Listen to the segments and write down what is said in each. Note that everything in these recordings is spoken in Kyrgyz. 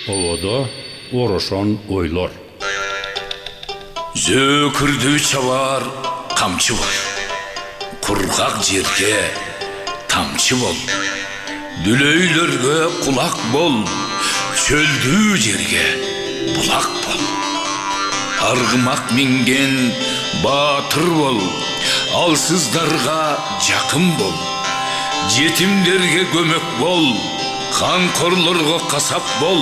Ободо орошон ойлор. Зөкүрдү чабар камчы бол. Кургак жерге тамчы бол. Дүлөйлөргө кулак бол. Чөлдүү жерге булак бол. Аргымак минген баатыр бол. Алсыздарга жакын бол. Жетимдерге көмөк бол. Канкорлорго касап бол.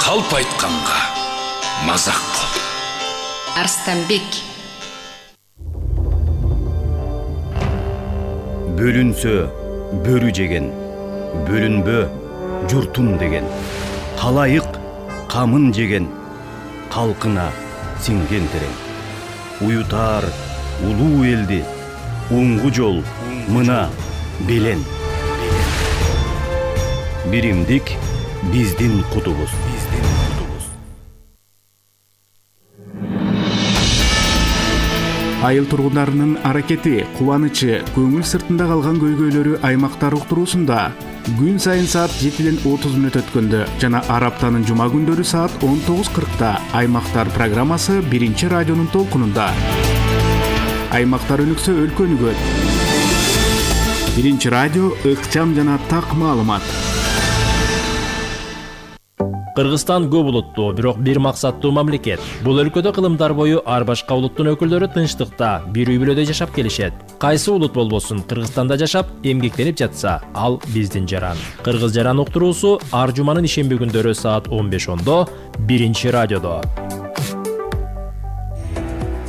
Калп айтканга мазак бол. Арстанбек. Бөлүнсө бөрү жеген, бөлүнбө журтум деген. Талайык камын жеген, калкына сиңген терең. Уютар улуу элди, уңгу жол мына белен. Биримдик биздин кутубуз. Айыл тургундарынын аракети, кубанычы, көңүл сыртында калган көйгөйлөрү аймактар уктуруусунда күн сайын саат 7:30 өткөндө жана ар аптанын жума күндөрү саат 19:40 аймактар программасы 1-радионун толкунунда. Аймактар өнүксө өлкө өнүгөт. 1-радио ыкчам жана так маалымат. Кыргызстан көп улуттуу, бирок бир максаттуу мамлекет. Бул өлкөдө кылымдар бою ар башка улуттун өкүлдөрү тынчтыкта, бир үй бүлөдө жашап келишет. Кайсы улут болбосун, Кыргызстанда жашап, эмгектенип жатса, ал биздин жаран. Кыргыз жаран уктуруусу ар жуманын ишемби күндөрү саат 15:10 1-радиодо.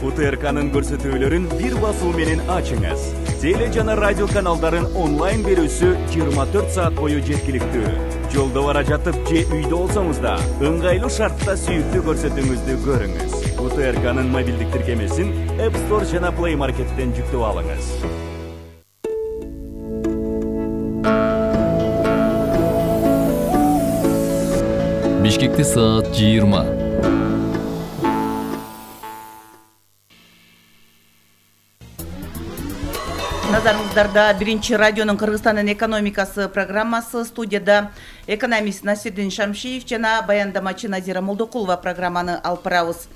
УТРКнын көрсөтүүлөрүн бир басуу менен ачыңыз. Теле жана радио каналдарын онлайн берүүсү 24 саат бою жеткиликтүү. Жолдо бара жатып же үйдө болсоңуз да, ыңгайлуу шартта сүйүктүү көрсөтүүңүздү көрүңүз. УТРКнын мобилдик тиркемесин App Store жана Play Market'тен жүктөп алыңыз. Бишкекте саат 20. Назарыңыздарда 1-радионун Кыргызстандын экономикасы программасы. Студияда экономист Насирдин Шамшиев жана баяндамачы Назира Молдокулова программаны алып барабыз.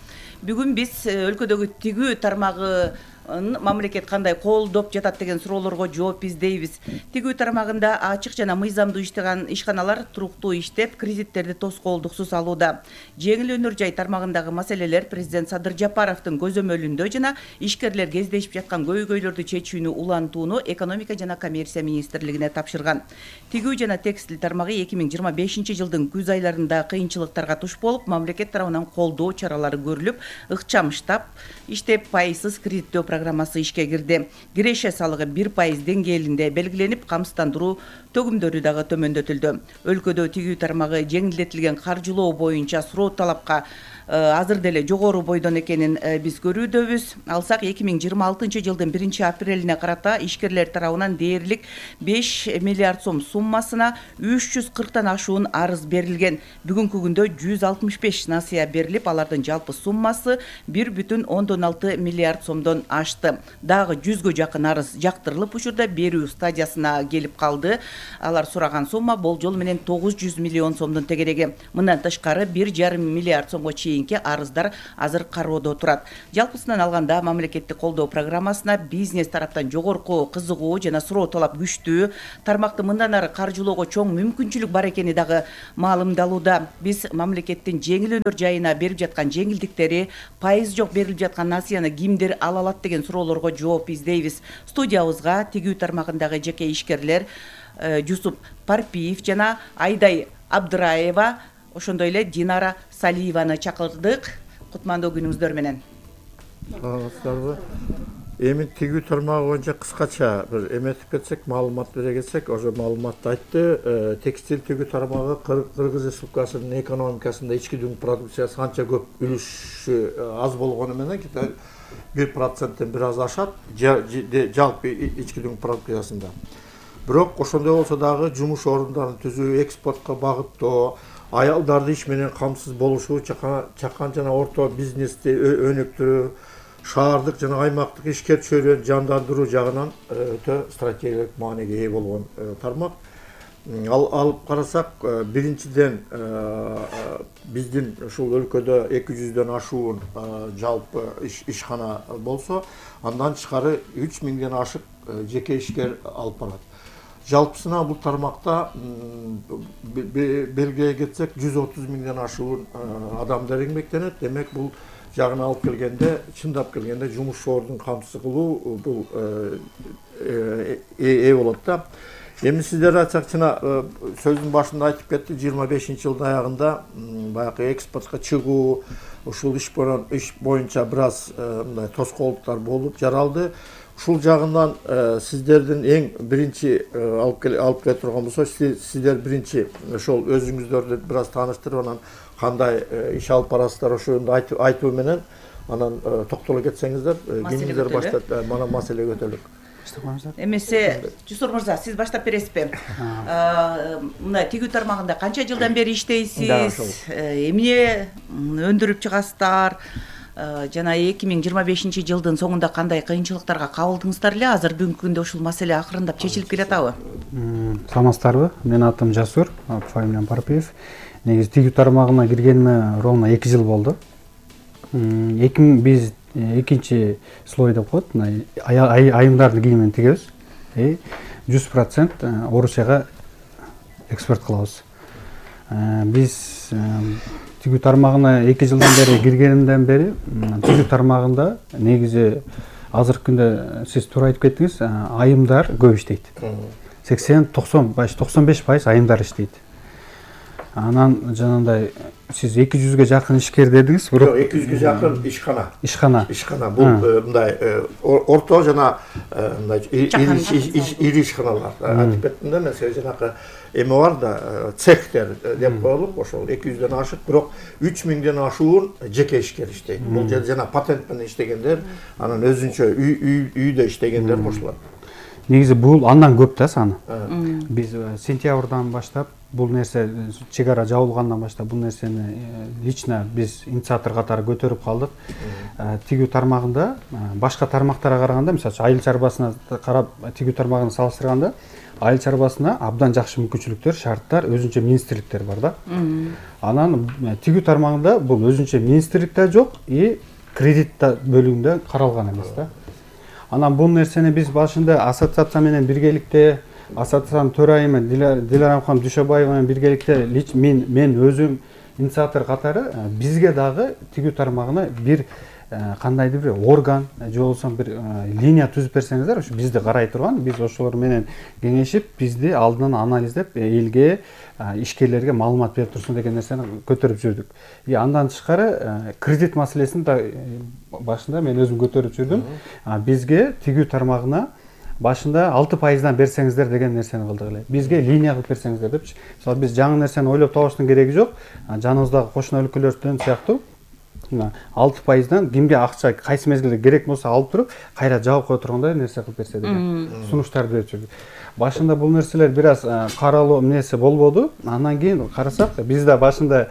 Бүгүн биз өлкөдөгү тигүү тармагы мамлекет кандай колдоп жатат деген суроолорго жооп издейбиз. Тигүү тармагында ачык жана мыйзамдуу иштеген ишканалар туруктуу иштеп, кредиттерди тоскоолдуксуз алууда. Жеңил өнөр жай тармагындагы маселелер президент Садыр Жапаровдун көзөмөлүндө жана ишкерлер кездешип жаткан көйгөйлөрдү чечүүнү улантууну экономика жана коммерция министрлигине тапшырган. Тигүү жана текстиль тармагы 2025 жылдын күз айларында кыйынчылыктарга туш болуп, мамлекет тарабынан колдоо чаралары көрүлүп, ыкчам штаб иштеп, пайызсыз кредиттөө программасы ишке кирди. Киреше салыгы 1% деңгээлинде белгиленип, камсыздандыруу төгүмдөрү дагы төмөндөтүлдү. Өлкөдө тигүү тармагы жеңилдетилген каржылоо боюнча суроо талапка азыр деле жогору бойдон экенин биз көрүүдөбүз. Алсак 2026 жылдын 1-апрелине карата ишкерлер тарабынан дээрлик 5 миллиард сом суммасына 340тан ашуун арыз берилген. Бүгүнкү күндө 165 насыя берилип, алардын жалпы суммасы 1,6 миллиард сомдон ашты. Дагы 100гө жакын арыз жактырылып, учурда берүү стадиясына келип калды. Алар сураган сумма болжол менен 900 миллион сомдун тегереги. Мындан тышкары 1,5 миллиард сомго арыздар азыр кароодо турат. Жалпысынан алганда мамлекеттик колдоо программасына бизнес тараптан жогорку кызыгуу жана суроо талап күчтүү. Тармакты мындан ары каржылоого чоң мүмкүнчүлүк бар экени дагы маалымдалууда. Биз мамлекеттин жеңил өнөр жайына берип жаткан жеңилдиктери, пайыз жок берилип жаткан насыяны кимдер ала алат деген суроолорго жооп издейбиз. Студиябызга тигүү тармагындагы жеке ишкерлер Жусуп Парпиев жана Айдай Абдыраева, ошондой эле Динара Салиеваны чакырдык. Кутмандуу күнүңүздөр менен. Саламатсыздарбы? Эми тигүү тармагы боюнча кыскача бир эметип кетсек, маалымат бере кетсек, ошо маалыматты айтты. Текстиль тигүү тармагы Кыргыз Республикасынын экономикасында ички дүң продукциясы анча көп үлүшү аз болгону менен 1%-тен бир аз ашат жалпы ички дүң продукциясында. Бирок ошондой болсо дагы жумуш орундарын түзүү, экспортко багыттоо, аялдарды иш менен камсыз болушу, чакан жана орто бизнести өнүктүрүү, шаардык жана аймактык ишкер чөйрөнү жандандыруу жагынан өтө стратегиялык мааниге ээ болгон тармак. Алып карасак, биринчиден биздин ушул өлкөдө 200дөн ашуун жалпы ишкана болсо, андан тышкары 3000ден ашык жеке ишкер алып барат. Жалпысына бул тармакта белгилей кетсек 130 миңден ашуун адамдар эмгектенет. Демек бул жагына алып келгенде, чындап келгенде жумуш ордун камсыз кылуу бул болот да. Эми сиздер ачакчына сөздүн башында айтып кетти, 25-жылдын аягында баягы экспортко чыгуу, ушул иш боюнча бир аз мындай тоскоолдуктар болуп жаралды. Ушул жагынан сиздердин эң биринчи алып келе турган болсо, сиздер биринчи ошол өзүңүздөрдү бир аз тааныштырып, анан кандай иш алып барасыздар ошону айтуу менен анан токтоло кетсеңиздер, кимдер баштап мана маселе көтөрүлөт. Эмесе Жусур мырза, сиз баштап бересизби? Мына тигүү тармагында канча жылдан бери иштейсиз? Эмне өндүрүп чыгасыздар? Жана 2025 жылдын соңунда кандай кыйынчылыктарга кабылдыңыздар эле? Азыр бүгүнкү күндө ушул маселе акырындап чечилип келатабы? Саламатсыздарбы? Менин атым Жасур, фамилиям Парпиев. Негизи тигүү тармагына киргениме ровно 2 жыл болду. Биз экинчи слой деп коет, айымдардын кийимин тигебиз. 100% Орусияга экспорт кылабыз. Биз тигүү тармагына 2 жылдан бери киргенимден бери тигүү тармагында негизи азыркы күндө сиз туура айтып кеттиңиз, айымдар көп иштейт. 80-95% айымдар иштейт. Анан жанагындай сиз 200ге жакын ишкер дедиңиз, бирок 200ге жакын ишкана. Бул мындай орто жана мындай ири ишканалар. Айтып кеттим да, мен жанагы эме бар да, цехтер деп коелук, ошол 200дөн ашык, бирок 3000ден ашуун жеке ишкер иштейт. Бул жана патент менен иштегендер, анан өзүнчө үйдө иштегендер кошулат. Негизи бул андан көп да саны. Биз сентябрдан баштап бул нерсе чек ара жабылгандан баштап бул нерсени лично биз инициатор катары көтөрүп калдык. Тигүү тармагында башка тармактарга караганда, мисалы үчүн айыл чарбасына карап тигүү тармагын салыштырганда, айыл чарбасына абдан жакшы мүмкүнчүлүктөр, шарттар, өзүнчө министрликтер бар да. Анан тигүү тармагында бул өзүнчө министрлик да жок, кредит бөлүгүндө каралган эмес да. Анан бул нерсени биз башында ассоциация менен биргеликте, ассоциациянын төрайымы Дилара ханым Дүйшөбаева менен биргеликте мен өзүм инициатор катары бизге дагы тигүү тармагына бир кандайдыр бир орган же болбосо бир линия түзүп берсеңиздер, ушу бизди карай турган, биз ошолор менен кеңешип, бизди алдынан анализдеп, элге, ишкерлерге маалымат берип турсун деген нерсени көтөрүп жүрдүк. Андан тышкары кредит маселесин да башында мен өзүм көтөрүп жүрдүм. Бизге тигүү тармагына башында 6%дан берсеңиздер деген нерсени кылдык эле. Бизге линия кылып берсеңиздер депчи. Мисалы биз жаңы нерсени ойлоп табыштын кереги жок. Жаныбыздагы кошуна өлкөлөрдөн сыяктуу 6%дан кимге акча кайсы мезгилде керек болсо алып туруп, кайра жабып кое тургандай нерсе кылып берсе деген сунуштарды берип жүрдүк. Башында бул нерселер бир аз каралуу эмнеси болбоду. Андан кийин карасак, биз да башында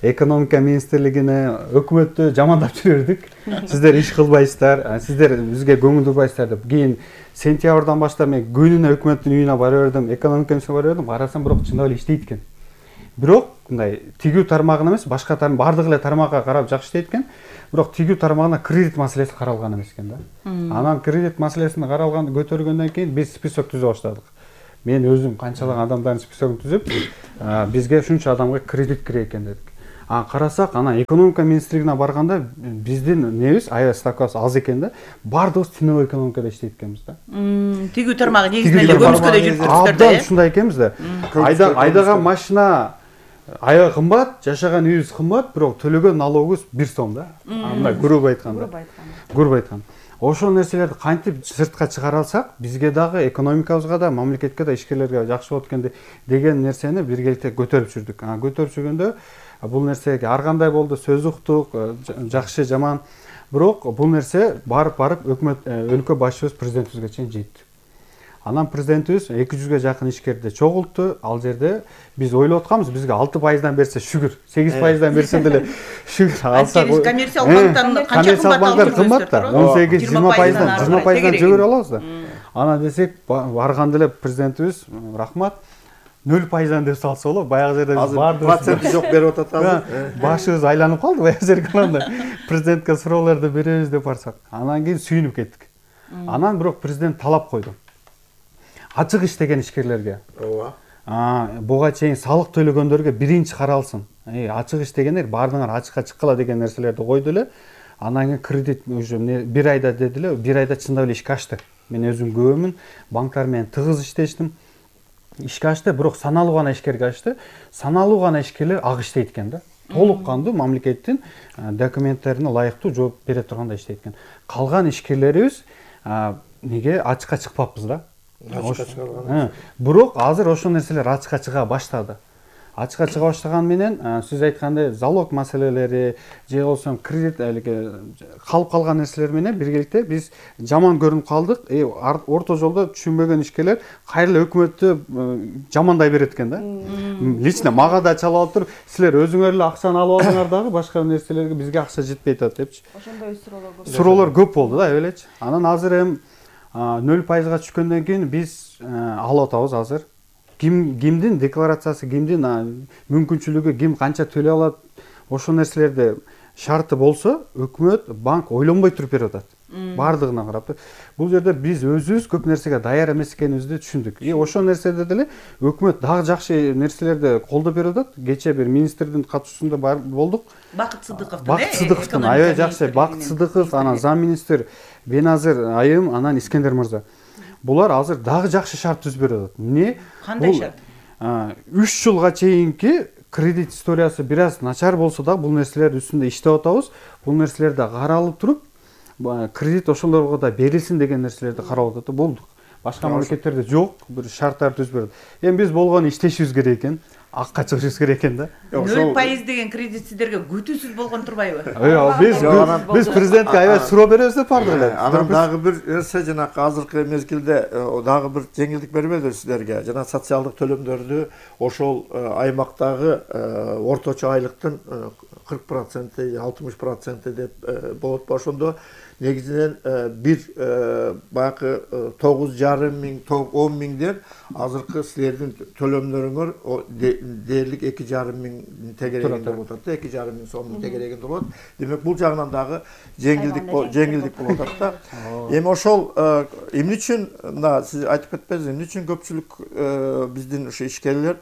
экономика министрлигине, өкмөттү жамандап жүрдүк. Сиздер иш кылбайсыздар, сиздер бизге көңүл бурбайсыздар деп. Кийин сентябрдан баштап мен күнүнө өкмөттүн үйүнө бара бердим, экономика министрine бара бердим. Карасам, бирок чындап эле иштейт экен. Бирок мындай тигүү тармагына эмес, башка бардык эле тармакка карап жакшы иштейт экен. Бирок тигүү тармагына кредит маселеси каралган эмес экен да. Анан кредит маселесин каралганды көтөргөндөн кийин биз список түзө баштадык. Мен өзүм канчалаган адамдардын списогун түзүп, бизге ушунча адамга кредит керек экен дедик. Карасак, анан экономика министрлигине барганда биздин небиз аябай ставкабыз аз экен да. Бардыгыбыз теневой экономикада иштейт экенбиз да. Тигүү тармагы негизинен эле көмүскөдө жүрүп турсуздар да. Абдан ушундай экенбиз да. Айдаган машина аябай кымбат, жашаган үйүбүз кымбат, бирок төлөгөн налогубуз 1 сом да. Мындай грубо айтканда. Ошол нерселерди кантип сыртка чыгара алсак, бизге дагы экономикабызга да, мамлекетке да, ишкерлерге жакшы болот экен деген нерсени биргеликте көтөрүп жүрдүк. Көтөрүп жүргөндө бул нерсеге ар кандай болду, сөз уктук, жакшы, жаман. Бирок бул нерсе барып өкмөт өлкө башчыбыз президентибизге чейин жетти. Анан президентибиз 200ге жакын ишкерди чогултту. Ал жерде биз ойлоп атканбыз, бизге 6%дан берсе шүгүр, 8%дан берсе деле шүгүр алсак. Коммерциялык банктан канча кымбат да? 18-20%дан жөгөрүп алабыз да. Анан десек, барганда эле президентибиз рахмат, 0% деп салса болот. Баягы жерде азыр проценти жок берип атат. Башыбыз айланып калды баягы жерге анда. Президентке суроолорду беребиз деп барсак. Анан кийин сүйүнүп кеттик. Анан бирок президент талап койду. Ачык иштеген ишкерлерге. Ооба. Буга чейин салык төлөгөндөргө биринчи каралсын. Ачык иштегендер баардыгына ачыкка чыккыла деген нерселерди койду эле. Анан кийин кредит уже 1 айда деди эле, 1 айда чындап эле ишке ачты. Мен өзүм көбөмүн, банктар менен тыгыз иштештим. Ишке ачты, бирок саналуу гана ишкерге ачты. Саналуу гана ишкерлер ак иштейт экен да. Толук кандуу мамлекеттин документтерине ылайыктуу жооп бере тургандай иштейт экен. Калган ишкерлерибиз неге ачыкка чыкпаппыз да? Бирок азыр ошол нерселер ачыкка чыга баштады. Ачыкка чыга баштаган менен сиз айткандай залог маселелери же болсо кредит калып калган нерселер менен биргеликте биз жаман көрүнүп калдык. Орто жолдо түшүнбөгөн ишкерлер кайра өкмөттү жамандай берет экен да. Лично мага да чалып алып туруп, силер өзүңөр эле акчаны алып алдыңар дагы башка нерселерге бизге акча жетпей атат депчи. Ошондой суроолор көп болду да, эбелечи. Анан азыр эми 0%га түшкөндөн кийин биз алып атабыз азыр. Кимдин декларациясы, кимдин мүмкүнчүлүгү, ким канча төлөй алат, ошол нерселерде шарты болсо, өкмөт, банк ойлонбой туруп берип атат. Бардыгына карап. Бул жерде биз өзүбүз көп нерсеге даяр эмес экенибизди түшүндүк. Ошол нерседе деле өкмөт дагы жакшы нерселерди колдоп берип атат. Кече бир министрдин катышуусунда болдук. Бакыт Сыдыковдун. Бакыт Сыдыковдун аябай жакшы. Бакыт Сыдыков, анан замминистр Беназыр айым, анан Искендер мырза. Булар азыр дагы жакшы шарт түзүп берип атат. Эмне? Кандай шарт? 3 жылга чейинки кредит историясы бир аз начар болсо да, бул нерселер үстүндө иштеп атабыз. Бул нерселер да каралып туруп, кредит ошолорго да берилсин деген нерселерди карап атат. Болдук. Башка мамлекеттерде жок, бир шарттар түзүп берет. Эми биз болгону иштешибиз керек экен. Акка чыгышыбыз керек экен да. 0% деген кредит сиздерге күтүүсүз болгон турбайбы? Биз президентке аябай суроо беребиз деп бардык эле. Анан дагы бир нерсе, жанагы азыркы мезгилде дагы бир жеңилдик бербедиби сиздерге? Жана социалдык төлөмдөрдү ошол аймактагы орточо айлыктын 40%, 60% деп болот. Ошондо негизинен бир баягы 9,5 миң, 10 миңден азыркы силердин төлөмдөрүңөр дээрлик 2,5 миң тегерегинде болот да, 2,5 миң сомдун тегерегинде болот. Демек бул жагынан дагы жеңилдик болуп атат да. Эми ошол эмне үчүн мына сиз айтып кетпедиңиз, эмне үчүн көпчүлүк биздин ошо ишкерлер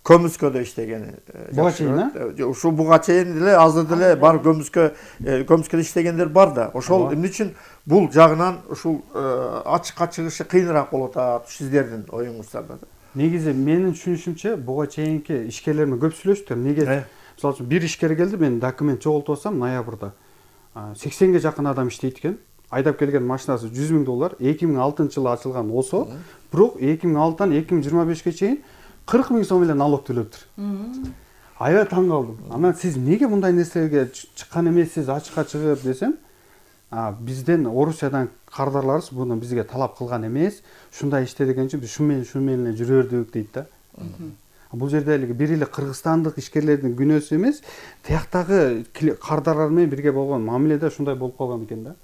көмүскөдө иштегени. Буга чейин, Ушул буга чейин деле азыр деле бар көмүскөдө иштегендер бар да. Ошол эмне үчүн бул жагынан ушул ачыкка чыгышы кыйыныраак болот атат сиздердин оюңуздарда? Негизи менин түшүнүшүмчө буга чейинки ишкерлер менен көп сүйлөштүм. Неге? Мисалы үчүн бир ишкер келди, мен документ жоготуп алсам ноябрда 80ге жакын адам иштейт экен. Айдап келген машинасы $100,000, 2006 жылы ачылган болсо, бирок 2006-тан 2025-ге чейин 40 миң сом эле налог төлөптүр. Аябай таң калдым. Анан сиз неге мындай нерселерге чыккан эмессиз, ачыкка чыгып десем, бизден Орусиядан кардарларыбыз буну бизге талап кылган эмес, ушундай иште деген үчүн биз шуну менен эле жүрө бердик дейт да. Бул жерде бир эле кыргызстандык ишкерлердин күнөөсү эмес, тияктагы кардарлар менен бирге болгон мамиледе ушундай болуп калган экен да.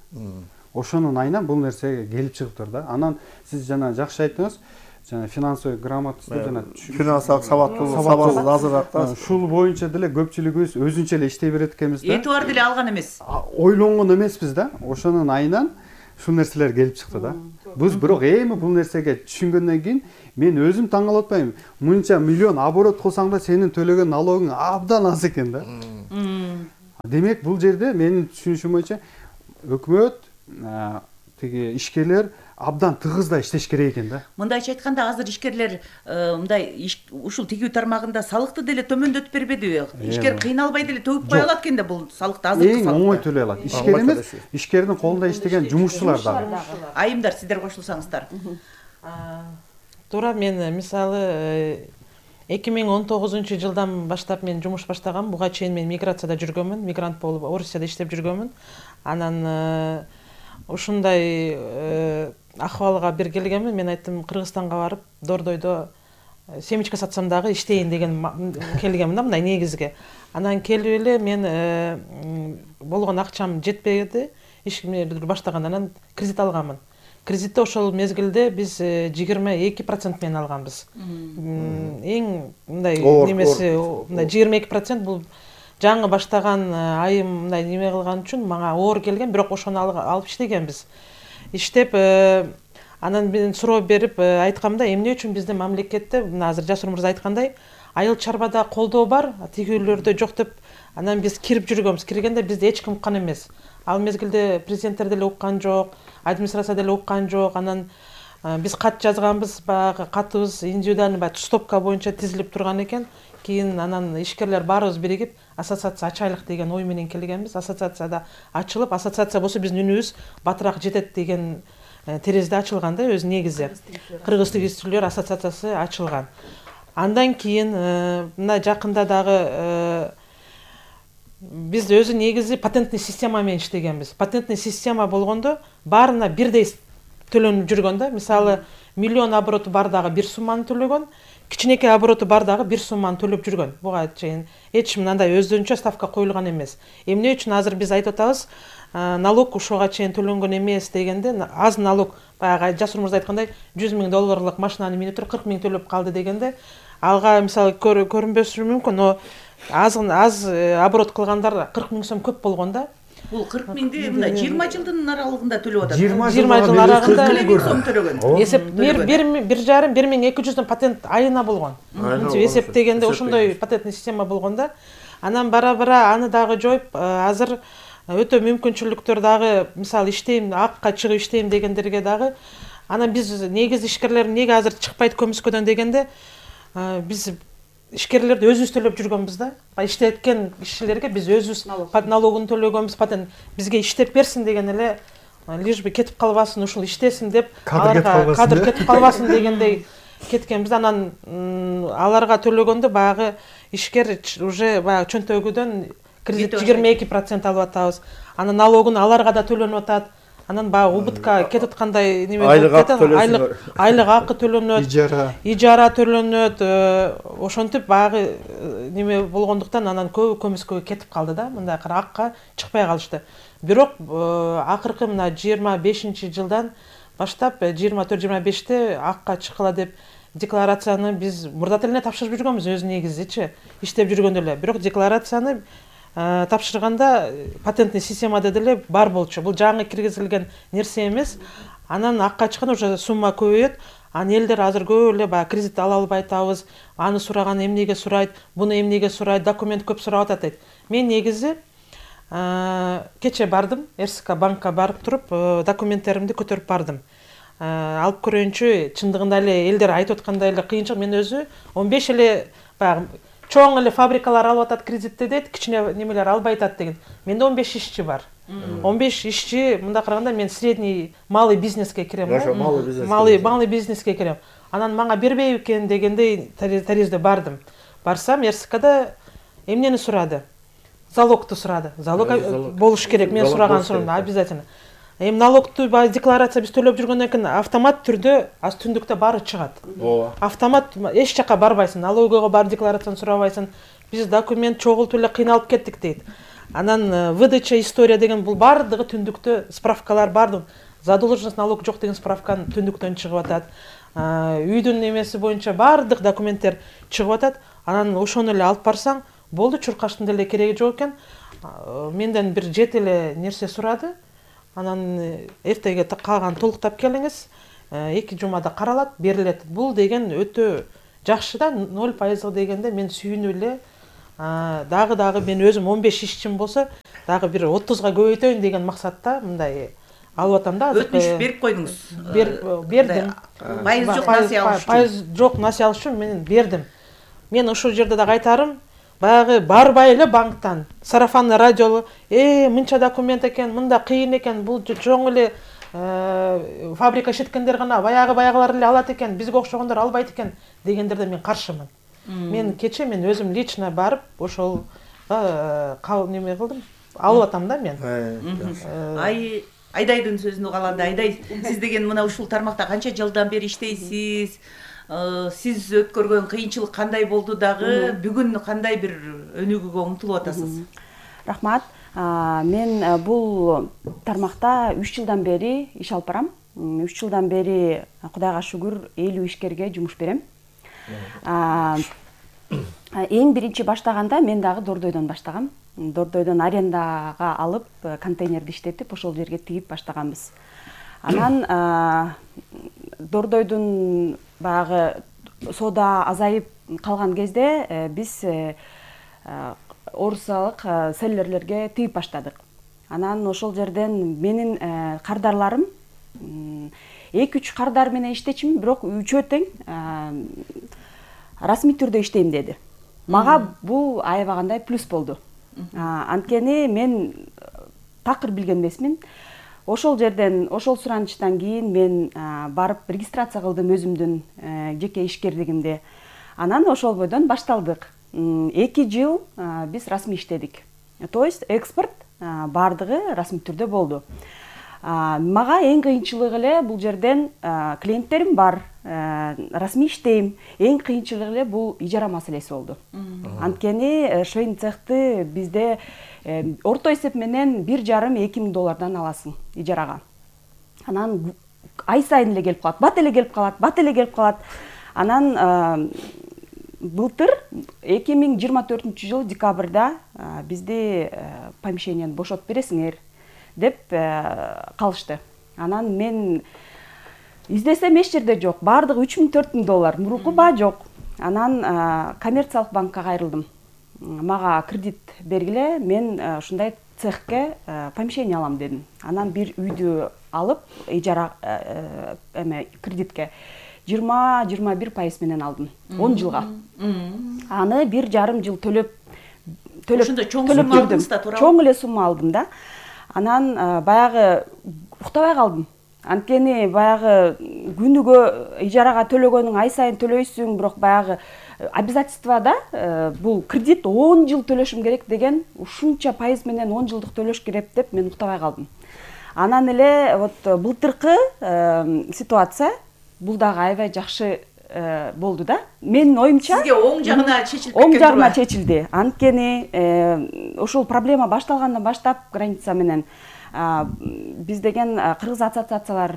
Ошонун айынан бул нерсеге келип чыгыптыр да. Анан сиз жана жакшы айттыңыз, жана финансовый грамотность, жана финансылык сабатсыз азыраак. Ушул боюнча деле көпчүлүгүбүз өзүнчө эле иштей берет экенбиз да. Этибар деле алган эмес. Ойлонгон эмеспиз да. Ошонун айынан ушул нерселер келип чыкты да. Биз бирок эми бул нерсеге түшүнгөндөн кийин мен өзүм таң калып атпаймынбы? Мынча миллион оборот кылсаң да сенин төлөгөн налогуң абдан аз экен да. Демек бул жерде менин түшүнүшүм боюнча өкмөт, тиги ишкерлер абдан тыгызда иштеш керек экен да. Мындайча айтканда азыр ишкерлер мындай ушул тигүү тармагында салыкты деле төмөндөтүп бербедиби? Ишкер кыйналбай деле төгүп кое алат экен да бул салыкты, азыркы салыкты. Эң оңой төлөй алат. Ишкер эмес, ишкердин колунда иштеген жумушчулар дагы. Айымдар, сиздер кошулсаңыздар. Туура, мен мисалы 2019 жылдан баштап мен жумуш баштагам. Буга чейин мен миграцияда жүргөнмүн, мигрант болуп Орусияда иштеп жүргөнмүн. Анан ушундай акыбалга бир келгенмин, мен айттым Кыргызстанга барып, дордойдо семечка сатсам дагы иштейин деген келгенмин да, мындай негизге. Анан келип эле мен болгон акчам жетпеди, ишке баштагандан анан кредит алганмын. кредитти ошол мезгилде биз 22% менен алганбыз. Эң мындай немеси мындай 22% бул жаңы баштаган айым мындай неме кылган үчүн мага оор келген, бирок ошону алып иштегенбиз. Иштеп анан мен суроо берип айткамда, эмне үчүн бизде мамлекетте мына азыр Жасур мырза айткандай айыл чарбада колдоо бар, тигүүлөрдө жок деп анан биз кирип жүргөнбүз. Киргенде бизди эч ким уккан эмес. Ал мезгилде президенттер деле уккан жок, администрация деле уккан жок. Анан биз кат жазганбыз, баягы катыбыз индивидуальный стопка боюнча тизилип турган экен. Кийин анан ишкерлер баарыбыз биригип ассоциация ачайлык деген ой менен келгенбиз. Ассоциацияда ачылып, ассоциация болсо биздин үнүбүз батыраак жетет деген терезде ачылган да өзү негизи. Кыргыз тигизчилер ассоциациясы ачылган. Андан кийин мына жакында дагы биз өзү негизи патентный система менен иштегенбиз. Патентный система болгондо баарына бирдей төлөнүп жүргөн да. Мисалы, миллион обороту бар дагы бир сумманы төлөгөн, кичинекей обороту бар дагы бир сумманы төлөп жүргөн. Буга чейин эч мындай өздөрүнчө ставка коюлган эмес. Эмне үчүн азыр биз айтып атабыз, налог ушуга чейин төлөнгөн эмес дегенде, аз налог, баягы Жасур мырза айткандай, $100,000 машинаны минип туруп 40 000 төлөп калды дегенде, алга мисалы көрүнбөсү мүмкүн, но аз оборот кылгандар 40 000 сом көп болгон да. Бул 40 000ди мындай 20 жылдын аралыгында төлөп атат. 20 жылдын аралыгында сом төлөгөн. Эсеп 1,5-1200 патент айына болгон. Эсептегенде ошондой патентный система болгон да. Анан бара-бара аны дагы жоюп, азыр өтө мүмкүнчүлүктөр дагы, мисалы иштейм, акка чыгып иштейм дегендерге дагы. Анан биз негизи ишкерлер неге азыр чыкпайт көмүскөдөн дегенде, биз ишкерлерди өзүбүз төлөп жүргөнбүз да. Иштеткен кишилерге биз өзүбүз налогун төлөгөнбүз, патент бизге иштеп берсин деген эле, лишь бы кетип калбасын, ушул иштесин деп, кадр кетип калбасын дегендей кеткенбиз. Анан аларга төлөгөндө баягы ишкер уже баягы чөнтөгүдөн кредит 22% алып атабыз. Анан налогун аларга да төлөнүп атат. Анан баягы убытка кетип аткандай неме болуп кетет. Айлык акы төлөнөт, ижара төлөнөт. Ошентип баягы неме болгондуктан анан көбү көмүскөгө кетип калды да. Мындай акка чыкпай калышты. Бирок акыркы мына 25-жылдан баштап 24-25те акка чыккыла деп декларацияны биз мурда эле тапшырып жүргөнбүз өзү негизичи, иштеп жүргөндө эле. Бирок декларацияны тапшырганда патентный системада деле бар болчу. Бул жаңы киргизилген нерсе эмес. Анан акка чыкканда уже сумма көбөйөт. Анан элдер азыр көп эле баягы кредит ала албай атабыз. Аны сураган эмнеге сурайт, буну эмнеге сурайт, документ көп сурап атат дейт. Мен негизи кече бардым, РСК банкка барып туруп, документтеримди көтөрүп бардым. Алып көрөйүнчү, чындыгында эле элдер айтып аткандай эле кыйынчылык. Мен өзү 15 эле баягы чоң эле фабрикалар алып атат кредитти дейт, кичине немелер албай атат деген. Менде 15 ишчи бар. 15 ишчи, мында караганда мен средний малый бизнеске кирем. Малый бизнеске кирем. Анан мага бербей экен дегендей таризде бардым. Барсам, РСКда эмнени сурады? Залогту сурады. Залог болуш керек. Мен сураган суроомду обязательно. Налогту декларация биз төлөп жүргөндөн кийин автомат түрдө аз түндүктө баары чыгат. Автомат эч жака барбайсың, налогого бар декларацияны сурабайсың. Биз документ чогултуп эле кыйналып кеттик дейт. Анан выдача история деген бул бардыгы түндүктө справкалар бардык. Задолженность налог жок деген справканы түндүктөн чыгып атат. Үйдүн немеси боюнча бардык документтер чыгып атат. Анан ошону эле алып барсаң, болду, чуркаштын деле кереги жок экен. Менден бир 7 эле нерсе сурады. Анан эртеге калган толуктап келиңиз, 2 жумада каралат, берилет. Бул деген өтө жакшы да, 0% дегенде мен сүйүнүп эле, дагы мен өзүм 15 ишчим болсо, дагы бир 30га көбөйтөйүн деген максатта мындай алып атам да. Өтүнүш берип койдуңуз? Бердим. Пайыз жок насыя алыш үчүн. Пайыз жок насыя алыш үчүн мен бердим. Мен ошол жерде дагы айтарым, баягы барбай эле банктан сарафанный радиолу мынча документ экен, мында кыйын экен, бул чоң эле фабрика иштеткендер гана баягылар эле алат экен, бизге окшогондор албайт экен дегендерде мен каршымын. Мен кече мен өзүм лично барып ошол неме кылдым, алып атам да мен. Айдайдын сөзүн уганда, Айдай, сиз деген мына ушул тармакта канча жылдан бери иштейсиз? Сиз өткөргөн кыйынчылык кандай болду дагы, бүгүн кандай бир өнүгүүгө умтулуп атасыз? Рахмат. Мен бул тармакта 3 жылдан бери иш алып барам. 3 жылдан бери Кудайга шүгүр 50 ишкерге жумуш берем. Эң биринчи баштаганда мен дагы Дордойдон баштагам. Дордойдон арендага алып, контейнерди иштетип, ошол жерге тигип баштаганбыз. Анан Дордойдун баягы соода азайып калган кезде биз орусиялык селлерлерге тигип баштадык. Анан ошол жерден менин кардарларым 2-3 кардар менен иштечимин, бирок үчөө тең расмий түрдө иштейм деди. Мага бул аябагандай плюс болду. Анткени мен такыр билген эмесмин. Ошол жерден, ошол суранычтан кийин мен барып регистрация кылдым өзүмдүн жеке ишкерлигимди. Анан ошол бойдон башталдык. 2 жыл биз расмий иштедик. То есть экспорт бардыгы расмий түрдө болду. Мага эң кыйынчылыгы эле бул жерден клиенттерим бар, расмий иштейм. Эң кыйынчылыгы эле бул ижара маселеси болду. Анткени швейный цехты бизде орто эсеп менен $1,5–2 миң аласың ижарага. Анан ай сайын эле келип калат, бат эле келип калат. Анан былтыр 2024 декабрда бизди помещениени бошотуп бересиңер деп калышты. Анан мен издесем эч жерде жок, бардыгы $3,000–4,000, мурунку баа жок. Анан коммерциялык банкка кайрылдым. Мага кредит бергиле, мен ушундай цехке помещение алам дедим. Анан бир үйдү алып, ижара кредитке 20–21% менен алдым. 10 жылга. Аны 1,5 жыл төлөп жүрдүм. Чоң эле сумма алдым да. Анан баягы уктабай калдым. Анткени баягы күнүгө ижарага төлөгөнүң ай сайын төлөйсүң, бирок баягы обязательствода бул кредит 10 жыл төлөшүм керек деген, ушунча пайыз менен 10 жылдык төлөш керек деп мен уктабай калдым. Анан эле вот былтыркы ситуация бул дагы аябай жакшы болду да. Менин оюмча сизге оң жагына чечилип кеткен. Оң жагына чечилди. Анткени ошол проблема башталгандан баштап граница менен биз деген кыргыз ассоциациялар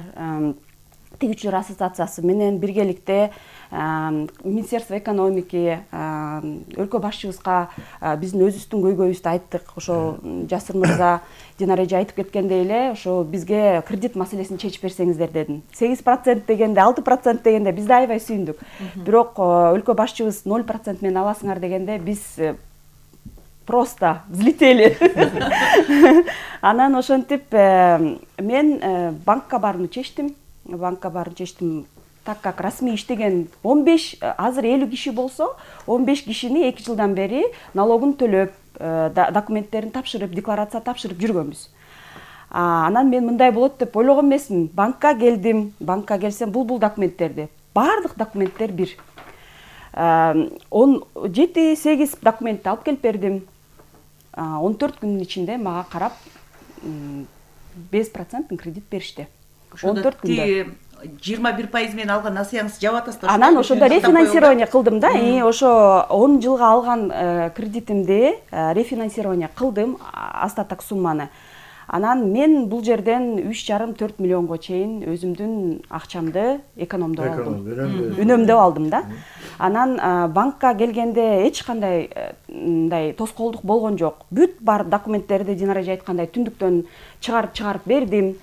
тигүүчүлөр ассоциациясы менен биргеликте Министерство экономики, өлкө башчыбызга биздин өзүбүздүн көйгөйүбүздү айттык. Ошо Жасыр мырза Динара эже айтып кеткендей эле, ошо бизге кредит маселесин чечип берсеңиздер дедим. 8% дегенде, 6% дегенде биз да аябай сүйүндүк. Бирок өлкө башчыбыз 0% менен аласыңар дегенде биз просто взлетели. Анан ошентип мен банкка барууну чечтим. Так как расмий иштеген 15, азыр 50 киши болсо, 15 кишини 2 жылдан бери налогун төлөп, документтерин тапшырып, декларация тапшырып жүргөнбүз. Анан мен мындай болот деп ойлогон эмесмин. Банкка келдим, банкка келсем бул документтерди. Бардык документтер бир. 7-8 документти алып келип бердим. 14 күнүн ичинде мага карап 5% кредит беришти. 14 күндө 21% менен алган насыяңызды жаап атасыздар. Анан ошондо рефинансирование кылдым да. Ошо 10 жылга алган кредитимди рефинансирование кылдым, остаток сумманы. Анан мен бул жерден 3,5–4 миллионго чейин өзүмдүн акчамды экономдоп алдым. Үнөмдөп алдым да. Анан банкка келгенде эч кандай мындай тоскоолдук болгон жок. Бүт бар документтерди Динара эже айткандай түндүктөн чыгарып бердим.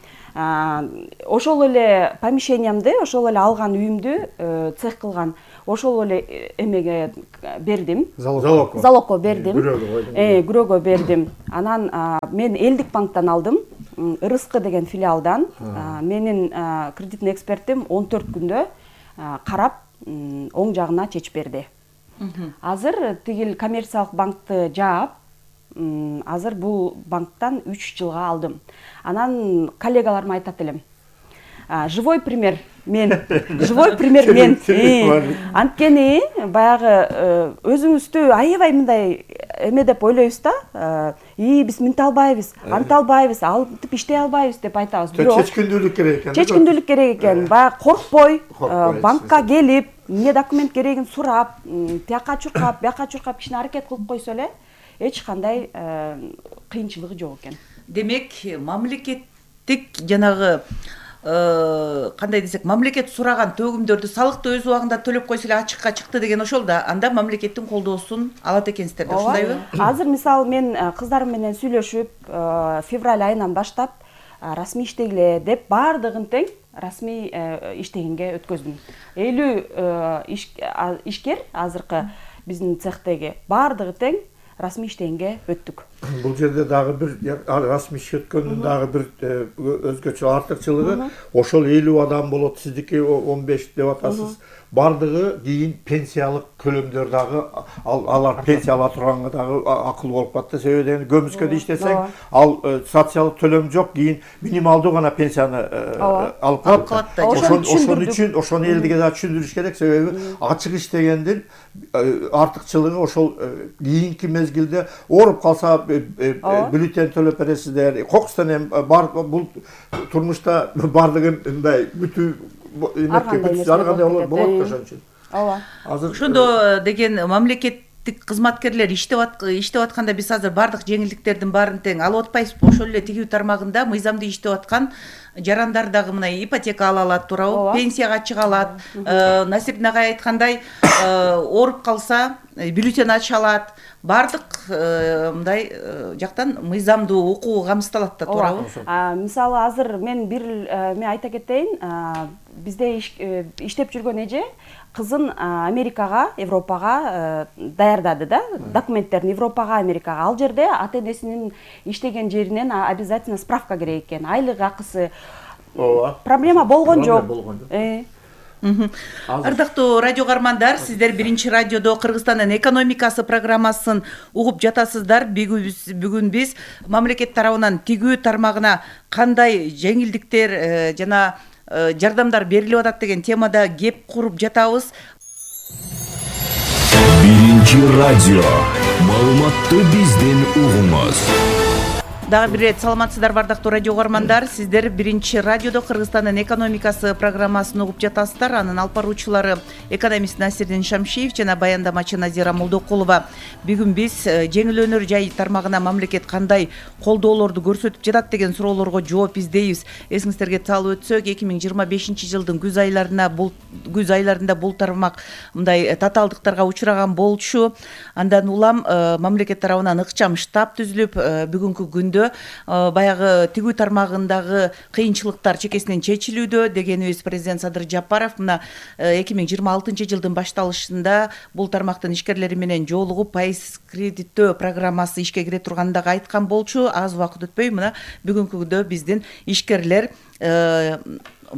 Ошол эле помещениямды, ошол эле алган үйүмдү цех кылган, ошол эле эмеге бердим. Залогко бердим. Күрөөгө бердим. Анан мен Элдик банктан алдым, РСК деген филиалдан. Менин кредитный экспертим 14 күндө карап оң жагына чечип берди. Азыр тигил коммерциялык банкты жаап, азыр бул банктан 3 жылга алдым. Анан коллегаларыма айтат элем. Живой пример мен. Анткени баягы өзүңүздү аябай мындай эме деп ойлойбуз да. Биз мынтип албайбыз, антип албайбыз, алтып иштей албайбыз деп айтабыз. Бирок чечкиндүүлүк керек экен. Чечкиндүүлүк керек экен. Баягы коркпой, банкка келип, эмне документ керегин сурап, тияка чуркап, бияка чуркап кичине аракет кылып койсо эле, эч кандай кыйынчылыгы жок экен. Демек мамлекеттик жанагы кандай десек, мамлекет сураган төгүмдөрдү, салыкты өз убагында төлөп койсо эле ачыкка чыкты деген ошол да, анда мамлекеттин колдоосун алат экенсиздер да, ушундайбы? Азыр мисалы мен кыздарым менен сүйлөшүп, февраль айынан баштап расмий иштегиле деп баардыгын тең расмий иштегенге өткөздүм. 50 ишкер азыркы биздин цехтеги баардыгы тең расмий иштегенге өттүк. Бул жерде дагы бир расмий ишке өткөндүн дагы бир өзгөчө артыкчылыгы, ошол 50 адам болот, сиздики 15 деп атасыз. Бардыгы кийин пенсиялык көлөмдөр дагы, алар пенсия ала турганга дагы акыл болуп калат. Себеби дегенде көмүскөдө иштесең, ал социалдык төлөм жок, кийин минималдуу гана пенсияны алып калат. Ошону элдике да түшүндүрүш керек. Себеби ачык иштегендин артыкчылыгы ошол кийинки мезгилде ооруп калса бюллетень төлөп бересиздер. Кокустан эми бул турмушта бардыгын мындай бүтүү болот ошон үчүн. Ооба. Ошондо деген мамлекеттик кызматкерлер иштеп атканда биз азыр бардык жеңилдиктердин баарын тең алып атпайбызбы? Ошол эле тигүү тармагында мыйзамдуу иштеп аткан жарандар дагы мына ипотека ала алат, туурабы? Пенсияга чыга алат. Насип агай айткандай, ооруп калса бюллетень ача алат. Бардык мындай жактан мыйзамдуу укугу камсыздалат да, туурабы? Мисалы азыр мен айта кетейин, бизде иштеп жүргөн эже кызын Америкага, Европага даярдады да, документтерин Европага, Америкага. Ал жерде ата энесинин иштеген жеринен обязательно справка керек экен. Айлык акысы проблема болгон жок. Ардактуу радио каармандар, сиздер Биринчи радиодо Кыргызстандын экономикасы программасын угуп жатасыздар. Бүгүн биз мамлекет тарабынан тигүү тармагына кандай жеңилдиктер жана жардамдар берилип атат деген темада кеп куруп жатабыз. Биринчи радио. Маалыматты бизден угуңуз. Дагы бир рет саламатсыздар бардактуу радио каармандар. Сиздер Биринчи радиодо Кыргызстандын экономикасы программасын угуп жатасыздар. Анын алып баруучулары экономист Насирдин Шамшиев жана баяндамачы Назира Молдокулова. Бүгүн биз жеңил өнөр жай тармагына мамлекет кандай колдоолорду көрсөтүп жатат деген суроолорго жооп издейбиз. Эсиңиздерге салып өтсөк, 2025 жылдын күз айларында бул тармак мындай татаалдыктарга учураган болчу. Андан улам мамлекет тарабынан ыкчам штаб түзүлүп, бүгүнкү күндө баягы тигүү тармагындагы кыйынчылыктар чекесинен чечилүүдө дегенибиз президент Садыр Жапаров мына 2026 жылдын башталышында бул тармактын ишкерлери менен жолугуп пайыз кредиттөө программасы ишке кире турганын дагы айткан болчу. Аз убакыт өтпөй мына бүгүнкү күндө биздин ишкерлер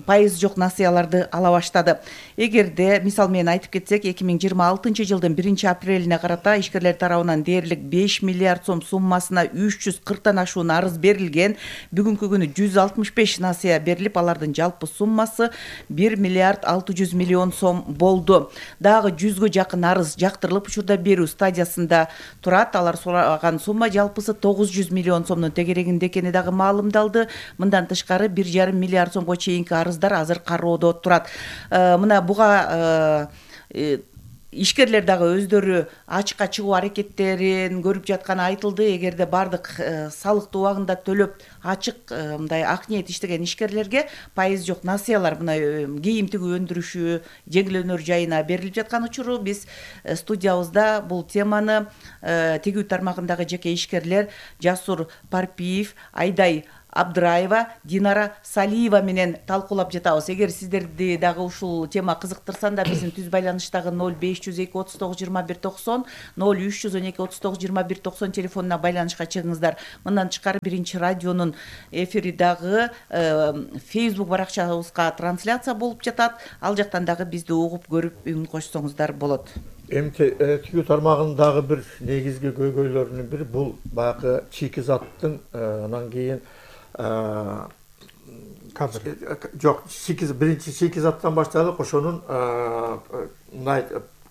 пайыз жок насыяларды ала баштады. Эгерде мисал менен айтып кетсек, 2026 жылдын 1-апрелине карата ишкерлер тарабынан дээрлик 5 миллиард сом суммасына 340тан ашуун арыз берилген. Бүгүнкү күнү 165 насыя берилип, алардын жалпы суммасы 1 миллиард 600 миллион сом болду. Дагы 100гө жакын арыз жактырылып, учурда берүү стадиясында турат. Алар сураган сумма жалпысы 900 миллион сомдун тегерегинде экени дагы маалымдалды. Мындан тышкары 1,5 миллиард сомго чейинки арыздар азыр кароодо турат. Мына буга ишкерлер дагы өздөрү ачыкка чыгуу аракеттерин көрүп жатканы айтылды. Эгерде бардык салыкты убагында төлөп ачык мындай ак ниет иштеген ишкерлерге пайыз жок насыялар мына кийим тигүү өндүрүшү жеңил өнөр жайына берилип жаткан учуру биз студиябызда бул теманы тигүү тармагындагы жеке ишкерлер Жасур Парпиев, Айдай Абдыраева, Динара Салиева менен талкуулап жатабыз. Эгер сиздерди дагы ушул тема кызыктырсанда, биздин түз байланыштагы 0502 39 21 90, 0312 39 21 90 телефонуна байланышка чыгыңыздар. Мындан тышкары Биринчи радионун эфири дагы Facebook баракчабызга трансляция болуп жатат. Ал жактан дагы бизди угуп көрүп үн кошсоңуздар болот. Эми тигүү тармагындагы бир негизги көйгөйлөрүнүн бири бул баягы чикизаттын анан кийин жок, биринчи чикизаттан баштадык. Ошонун мындай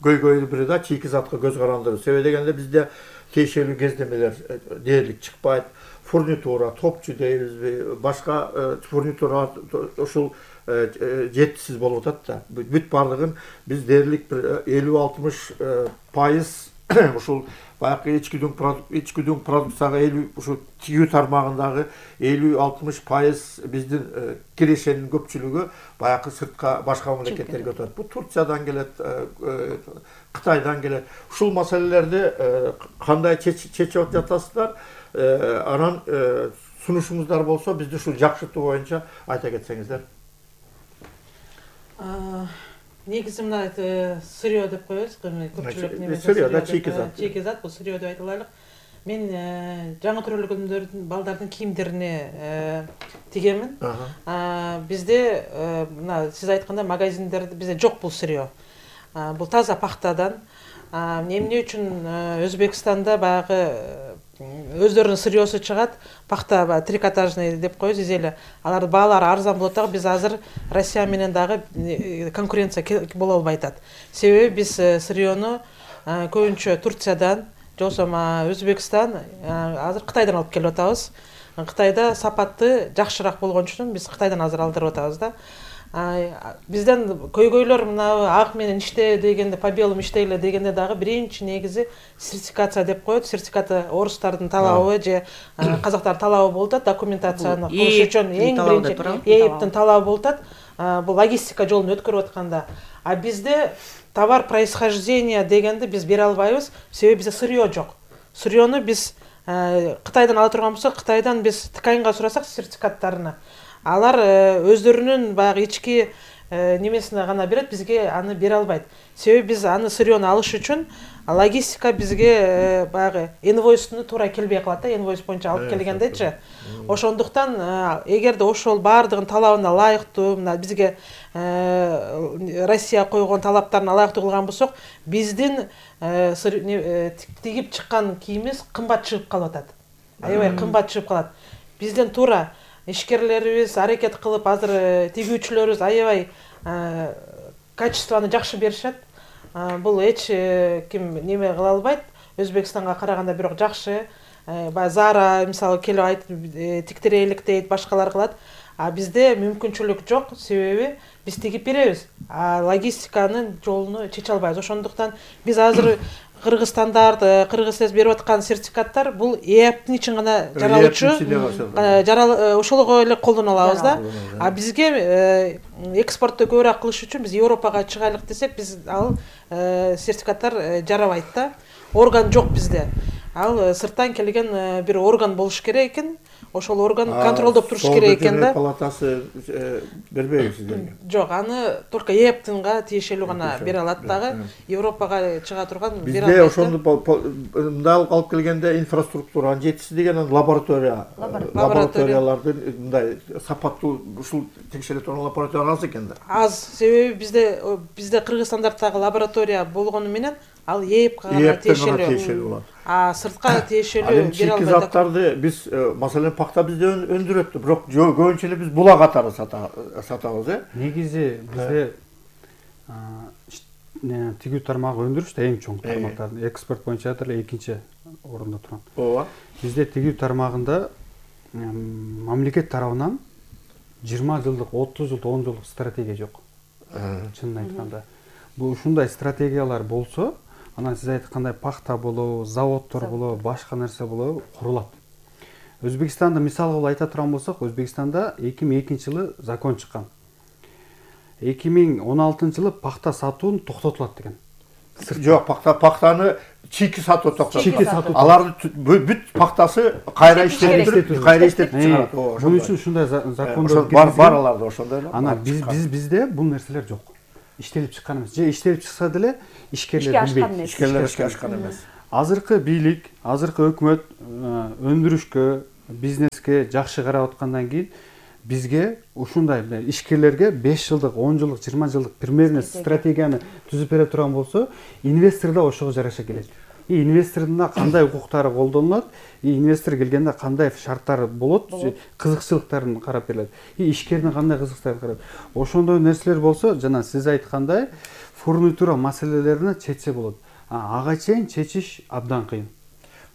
көйгөйү бири да чикизатка көз карандыруу. Себеби дегенде бизде тиешелүү кездемелер дээрлик чыкпайт. Фурнитура, топчу дейбизби, башка фурнитура ушул жетишсиз болуп атат да. Бүт бардыгын биз дээрлик бир 50-60% ушул баягы ичкүдүн продукцияга ушул тигүү тармагындагы 50-60% биздин кирешенин көпчүлүгү баягы сыртка башка мамлекеттерге өтөт. Бул Турциядан келет, Кытайдан келет. Ушул маселелерди кандай чечип жатасыздар? Анан сунушуңуздар болсо бизди ушул жакшыртуу боюнча айта кетсеңиздер. Негизи мына сырьё деп коебуз, көпчүлүк немесе чийки зат, бул сырьё деп айтылайлык. Мен жаңы төрөлгөндөрдүн балдардын кийимдерине тигемин. Бизде мына сиз айткандай магазиндерде бизде жок бул сырьё. Бул таза пахтадан. Эмне үчүн Өзбекстанда баягы өздөрүнүн сырьёсу чыгат, пахта трикотажный деп коебуз, изеле. Алардын баалары арзан болот дагы, биз азыр Россия менен дагы конкуренция боло албай атат. Себеби биз сырьёну көбүнчө Турциядан, же болбосо Өзбекстан, азыр Кытайдан алып келип атабыз. Кытайда сапаты жакшыраак болгон үчүн биз Кытайдан азыр алдырып атабыз да. Бизден көйгөйлөр мына ак менен иште дегенде, по белому иштейле дегенде дагы биринчи негизи сертификация деп коет. Сертификаты орустардын талабы же казактардын талабы болуп атат, документацияны кылыш үчүн эң биринчи ээптин талабы болуп атат. Бул логистика жолун өткөрүп атканда. А бизде товар происхождения дегенди биз бере албайбыз, себеби бизде сырьё жок. Сырьёну биз Кытайдан ала турган болсок, Кытайдан биз тканьга сурасак сертификаттарына, алар өздөрүнүн баягы ички немесине гана берет, бизге аны бере албайт. Себеби биз аны сырьёну алыш үчүн логистика бизге баягы инвойсту туура келбей калат да, инвойс боюнча алып келгендечи. Ошондуктан эгерде ошол баардыгын талабына ылайыктуу, мына бизге Россия койгон талаптарына ылайыктуу кылган болсок, биздин тигип чыккан кийимибиз кымбат чыгып калып атат. Аябай кымбат чыгып калат. Бизден туура ишкерлерибиз аракет кылып, азыр тигүүчүлөрүбүз аябай качествону жакшы беришет. Бул эч ким неме кыла албайт. Өзбекстанга караганда бирок жакшы. Баягы Zara мисалы келип айтып тиктирелик дейт, башкалар кылат. А бизде мүмкүнчүлүк жок, себеби биз тигип беребиз. А логистиканын жолуну чече албайбыз. Ошондуктан биз азыр Кыргызстандард, Кыргызстан берип аткан сертификаттар бул ээптин үчүн гана жаралуучу, ошолго эле колдоно алабыз да. А бизге экспортту көбүрөөк кылыш үчүн биз Европага чыгайлык десек, биз ал сертификаттар жарабайт да. Орган жок бизде. Ал сырттан келген бир орган болуш керек экен. Ошол орган контролдоп туруш керек экен да. Палатасы бербейби сиздерге? Жок, аны только ээптинга тиешелүү гана бере алат дагы. Европага чыга турган бере албайт. Бизде ошондо мындай алып келгенде инфраструктуранын жетишсиз деген лабораториялардын мындай сапаттуу ушул текшере турган лаборатория аз экен да. Аз, себеби бизде Кыргызстандагы лаборатория болгону менен ал ээпке гана тиешелүү болот. А сыртка тиешелүү бере албайт. Чийки заттарды биз, маселен, пахта бизде өндүрөт, бирок көбүнчө эле биз була катары сатабыз, Негизи бизде тигүү тармагы өндүрүштө эң чоң тармактардын экспорт боюнча деле экинчи орунда турат. Ооба. Бизде тигүү тармагында мамлекет тарабынан 20 жылдык, 30 жылдык, 10 жылдык стратегия жок. Чынын айтканда. Бул ушундай стратегиялар болсо, анан сиз айткандай пахта болобу, заводдор болобу, башка нерсе болобу курулат. Өзбекстанда мисал кылып айта турган болсок, Өзбекстанда 2002 жылы закон чыккан. 2016 жылы пахта сатуун токтотулат деген. Жок, пахтаны чийки сатуу токтотулат. Алардын бүт пахтасы кайра иштетип чыгарат. Бул үчүн ушундай закондор бар аларда ошондой эле. Анан bizde бул нерселер жок. Иштелип чыккан эмес. Же иштелип чыкса деле ишкерлер билбейт. Ишкерлер ишке ашкан эмес. Азыркы бийлик, азыркы өкмөт өндүрүшкө, бизнеске жакшы карап аткандан кийин бизге ушундай ишкерлерге 5 жылдык, 10 жылдык, 20 жылдык примерно стратегияны түзүп бере турган болсо, инвестор да ошого жараша келет. Инвестордун кандай укуктары колдонулат, инвестор келгенде кандай шарттары болот, кызыкчылыктарын карап берилет. Ишкердин кандай кызыкчылыктарын карап. Ошондой нерселер болсо, жана сиз айткандай, фурнитура маселелерин чечсе болот. Ага чейин чечиш абдан кыйын.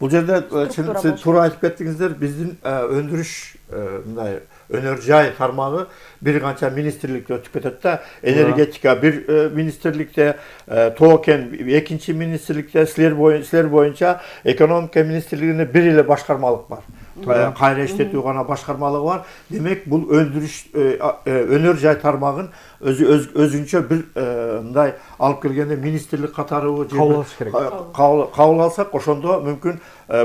Бул жерде сиз туура айтып кеттиңиздер, биздин өндүрүш мындай өнөр жай тармагы бир канча министрликте өтүп кетет да. Энергетика бир министрликте, тоо кен экинчи министрликте, силер боюнча экономика министрлигинде бир эле башкармалык бар. Кайра иштетүү гана башкармалыгы бар. Демек бул өндүрүш өнөр жай тармагын өзүнчө бир мындай алып келгенде министрлик катары кабыл алсак, ошондо мүмкүн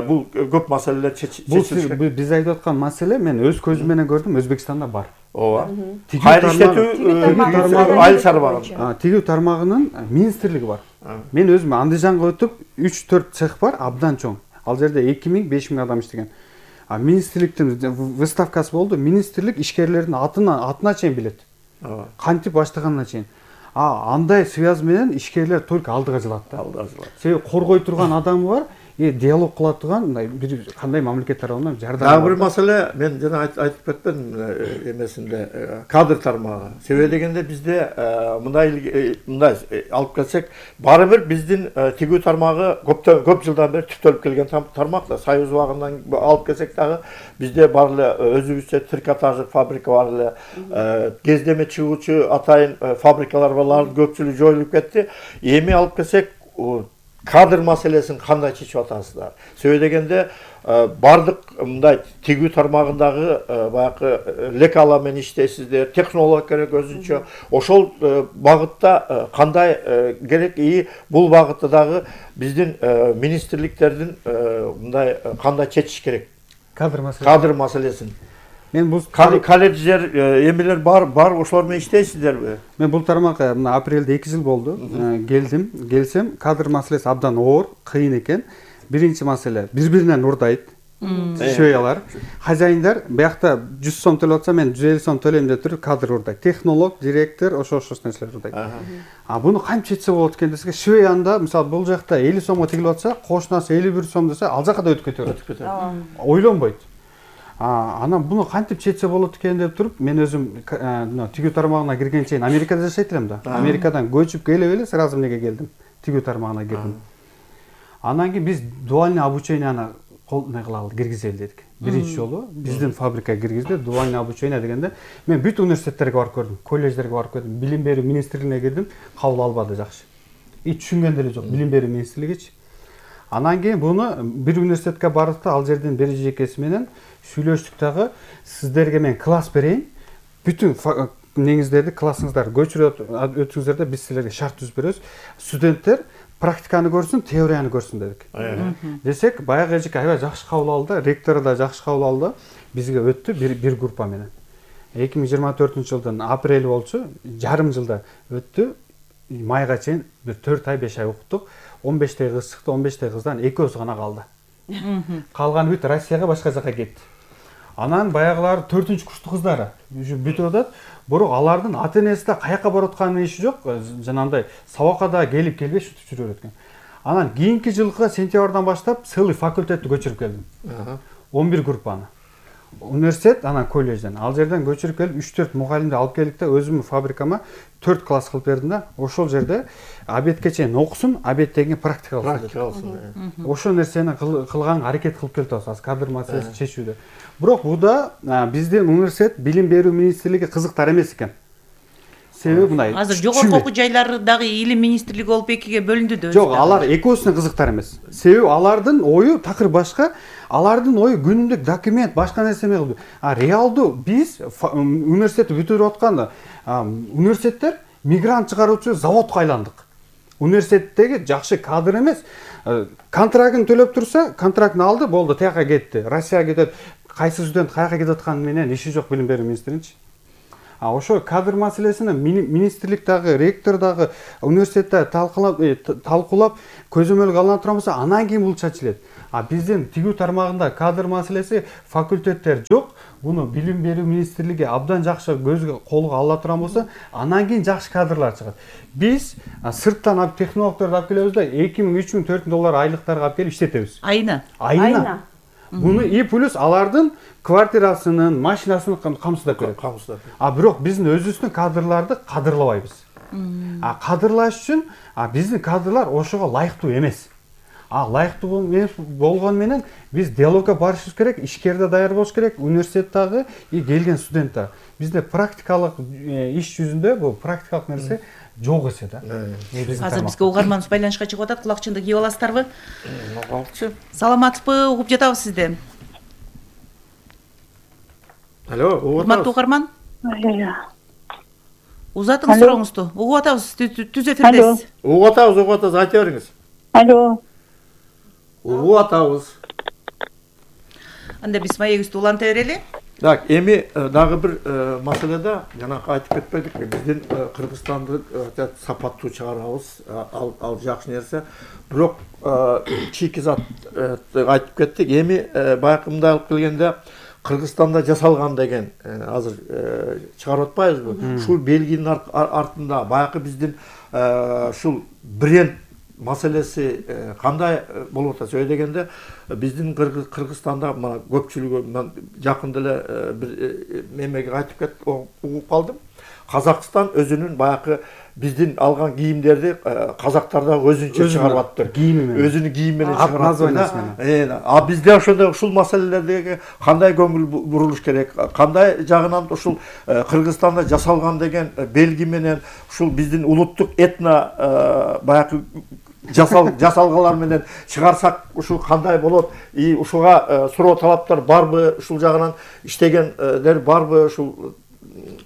бул көп маселелер чечилет. Бул биз айтып аткан маселе мен өз көзүм менен көрдүм, Өзбекстанда бар. Ооба. Кайра иштетүү айыл тармагы. Тигүү тармагынын министрлиги бар. Мен өзүм Андижанга өтүп, 3-4 цех бар, абдан чоң. Ал жерде 2000-5000 адам иштеген. Министрликтин выставкасы болду. Министрлик ишкерлердин атына чейин билет. Кантип баштаганына чейин. Андай связь менен ишкерлер только алдыга жылат да. Себеби коргой турган адамы бар, диалог кыла турган бир кандай мамлекет тарабынан жардам. Дагы бир маселе, мен жана айтып кетпедим эмесинде, кадр тармагы. Себеби дегенде бизде мындай алып келсек, баары бир биздин тигүү тармагы көп жылдан бери түптөлүп келген тармак да. Союз убагынан алып келсек дагы бизде бар эле өзүбүзчө трикотаждык фабрика бар эле. Кездеме чыгуучу атайын фабрикалар бар, көпчүлүгү жоюлуп кетти. Эми алып келсек, кадр маселесин кандай чечип атасыздар? Себеби дегенде бардык мындай тигүү тармагындагы баягы лекала менен иштейсиздер, технолог керек өзүнчө. Ошол багытта кандай керек? Бул багытта дагы биздин министрликтердин мындай кандай чечиш керек? Кадр маселесин. Мен бул колледждер, эмелер бар, ошолор менен иштейсиздерби? Мен бул тармакка мына апрелде 2 жыл болду. Келсем, кадр маселеси абдан оор, кыйын экен. Биринчи маселе, бири-биринен урдайт. Шөялар. Хозяиндар биякта 100 сом төлөп атса, мен 150 сом төлөйм деп туруп кадр урдайт. Технолог, директор, ошол нерселер урдайт. Буну кантип чечсе болот экен десек, шөянда, мисалы, бул жакта 50 сомго тигилип атса, кошунасы 51 сом десе, ал жака да өтүп кетет. Ойлонбойт. Анан буну кантип чечсе болот экен деп туруп, мен өзүм тигүү тармагына кирген чейин Америкада жашайт элем да. Америкадан көчүп келип эле сразу эмнеге келдим? Тигүү тармагына кирдим. Анан кийин биз дуальный обученияны киргизели дедик. Биринчи жолу биздин фабрикага киргизди, дуальный обучение дегенде мен бүт университеттерге барып көрдүм, колледждерге барып көрдүм, билим берүү министрлигине кирдим, кабыл албады жакшы. Түшүнгөн деле жок, билим берүү министрлигичи. Анан кийин буну бир университетке бардык да, ал жерден бир жекеси менен сүйлөштүк дагы, сиздерге мен класс берейин, бүтүн неңиздерди, классыңыздарды көчүрүп өтүңүздөр да, биз силерге шарт түзүп беребиз. Студенттер практиканы көрсүн, теорияны көрсүн дедик. Десек, баягы эжеке аябай жакшы кабыл алды, ректору да жакшы кабыл алды. Бизге өттү бир группа менен. 2024-жылдын апрели болчу, жарым жылда өттү. Майга чейин бир 4 ай 5 ай окуттук. 15 кыз чыкты, 15 кыздан 2 гана калды. Калганы бүт Россияга, башка жака кетти. Анан баягылар 4-курстук кыздары бүтүп атат, бирок алардын ата-энеси да каяка барып атканын иши жок, жанагындай сабакка да келип келбей шутуп жүрүп экен. Анан кийинки жылкы сентябрдан баштап целый факультетти көчүрүп келдим. 11 группаны. Университет, анан колледжден. Ал жерден көчүрүп келип 3-4 мугалимди алып келдик да, өзүмдүн фабрикама 4 класс кылып бердим да. Ошол жерде обедке чейин окусун, обедтен кийин практика кылсын. Ошол нерсени кылганга аракет кылып келатабыз, кадр маселесин чечүүдө. Бирок буда биздин университет билим берүү министрлиги кызыктар эмес экен. Себеби мындай. Азыр жогорку окуу жайлардагы илим министрлиги болуп экиге бөлүндү да. Жок, алар экөөсүнө кызыктар эмес. Себеби алардын ою такыр башка, алардын ою күнүмдүк документ, башка нерсе эмес. Реалдуу биз университетти бүтүрүп атканда университеттер мигрант чыгаруучу заводко айландык. Университеттеги жакшы кадр эмес. Контрактын төлөп турса, контрактын алды, болду, тияка кетти. Россияга кетет. Кайсы студент каяка кетип атканы менен иши жок билим берүү министринчи. Ошо кадр маселесини министрлик дагы, ректор дагы университетте талкуулап, көзөмөлгө алына турган болсо, анан кийин бул чечилет. Биздин тигүү тармагында кадр маселеси, факультеттер жок. Буну билим берүү министрлиги абдан жакшы көзгө колго ала турган болсо, анан кийин жакшы кадрлар чыгат. Биз сырттан технологдорду алып келебиз да, 2000, 3000, 4000 доллар айлыктарга алып келип иштетебиз. Айына. Буну и плюс алардын квартирасынын, машинасын камсыздап берет. Бирок биздин өзүбүздүн кадрларды кадырлабайбыз. Кадырлаш үчүн биздин кадрлар ошого ылайыктуу эмес. ылайыктуу эмес болгону менен биз диалогко барышыбыз керек, ишкерде даяр болуш керек, университет дагы и келген студент дагы. Бизде практикалык иш жүзүндө бул практикалык нерсе жок эсе да. Азыр бизге угарманыбыз байланышка чыгып атат, кулакчынды кийип аласыздарбы? Алчы. Саламатсызбы, угуп жатабыз сизди. Алло, урматтуу угарман. Узатыңыз сурооңузду. Угуп атабыз, түз эфирдесиз. Угуп атабыз, айта бериңиз. Алло. Угуп атабыз. Анда биз маегибизди уланта берели. Так, эми дагы бир маселеде жанакы айтып кетпедик, биздин Кыргызстанды сапаттуу чыгарабыз, ал жакшы нерсе. Бирок чийки-зат айтып кеттик. Эми баягы мындай алып келгенде Кыргызстанда жасалган деген азыр чыгарып атпайбызбы? Ушул белгинин артында баягы биздин ушул бренд маселеси кандай болуп атат дегенде, биздин Кыргызстанда мына көпчүлүгү жакында эле бир мемеге айтып кетип угуп калдым. Казакстан өзүнүн баягы биздин алган кийимдерди казактар да өзүнчө чыгарып атты. Өзүнүн кийими менен чыгарып атты. А бизде ошондой ушул маселелерге кандай көңүл бурулуш керек? Кандай жагынан ушул Кыргызстанда жасалган деген белги менен ушул биздин улуттук этно баягы жасалгалар менен чыгарсак ушул кандай болот? И ушуга суроо талаптар барбы? Ушул жагынан иштегендер барбы? Ушул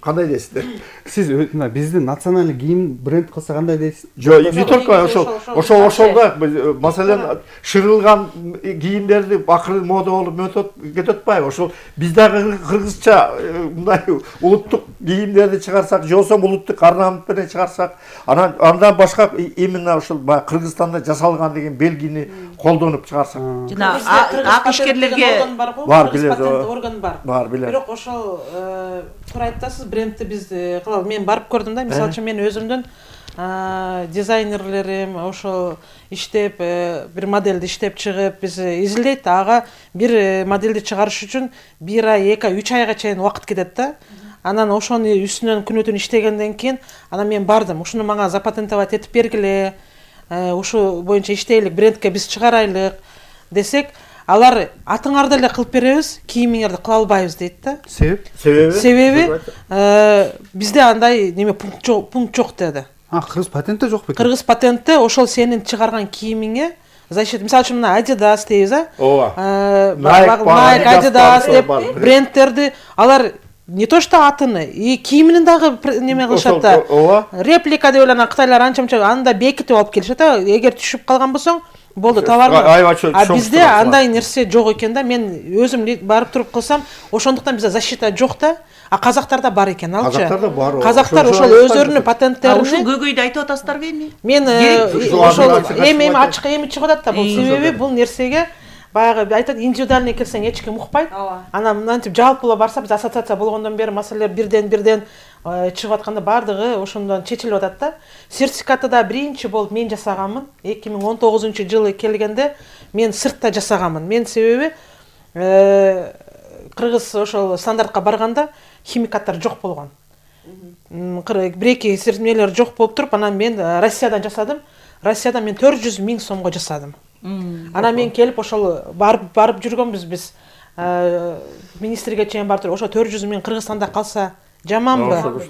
кандай дейсиздер? Сиз биздин националдык кийим бренд кылса кандай дейсиз? Жок, не только ошолда маселен шырылган кийимдерди акыры мода болуп кетип атпайбы? Ошол биз дагы кыргызча мындай улуттук кийимдерди чыгарсак, же болбосо улуттук орнамент менен чыгарсак, андан башка именно ушул Кыргызстанда жасалган деген белгини колдонуп чыгарсак. Жана ишкерлерге бар, билет, орган бар. Бар, билет. Бирок ошол туура айтасыз, брендти биз кылалы. Мен барып көрдүм да, мисалы үчүн мен өзүмдүн дизайнерлерим ошол иштеп бир модельди иштеп чыгып биз изилдейт, ага бир модельди чыгарыш үчүн 1 ай, 2 ай, 3 айга чейин убакыт кетет да. Анан ошону үстүнөн күнү-түн иштегенден кийин анан мен бардым. Ушуну мага запатентовать этип бергиле. Ушу боюнча иштейлик, брендке биз чыгарайлык десек, алар атыңарды эле кылып беребиз, кийимиңерди кыла албайбыз дейт да. Себеби бизде андай неме пункт жок деди. Кыргыз патентте жок бекен? Кыргыз патентте ошол сенин чыгарган кийимиңе защита, мисалы үчүн мына Adidas дейбиз, Nike, Adidas деп брендтерди алар не то что атыны, и кийиминин дагы неме кылышат да. Реплика деп эле анан кытайлар анча-мынча анда бекитип алып келишет да. Эгер түшүп калган болсоң, болду товарга. А бизде андай нерсе жок экен да. Мен өзүм барып туруп кылсам, ошондуктан бизде защита жок да. А казактарда бар экен, алчы. Казактарда бар. Казактар ошол өздөрүнүн патенттерин. Ошол көйгөйдү айтып атасыздарбы эми? Мен ошол эми ачык эми чыгып атат да. Бул себеби бул нерсеге баягы айтат, индивидуальный келсең эч ким укпайт. Анан мынтип жалпылап барса, биз ассоциация болгондон бери маселелер бирден чыгып атканда бардыгы ошондон чечилип атат да. Сертификатты да биринчи болуп мен жасаганмын. 2019-жылы келгенде мен сыртта жасаганмын. Мен себеби кыргыз ошол стандартка барганда химикаттар жок болгон. Бир-эки сертификаттар жок болуп туруп, анан мен Россиядан жасадым. Россияда мен 400 000 сомго жасадым. Анан мен келип ошол барып жүргөнбүз биз. Министрге чейин барып туруп, ошо 400 000 Кыргызстанда калса жаманбы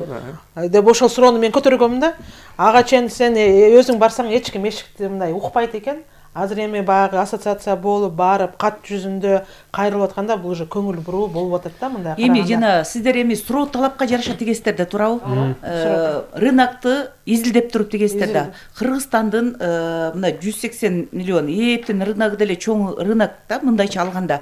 деп ошол суроону мен көтөргөмүн да. Ага чейин сен өзүң барсаң эч ким эшикти мындай укпайт экен. Азыр эми баягы ассоциация болуп барып кат жүзүндө кайрылып атканда бул уже көңүл буруу болуп атат да мындай. Эми жана сиздер эми суроо талапка жараша тигесиздер да, туурабы? Рынокты изилдеп туруп тигесиздер да. Кыргызстандын мына 180 миллион эптен рыногу деле чоң рынок да, мындайча алганда.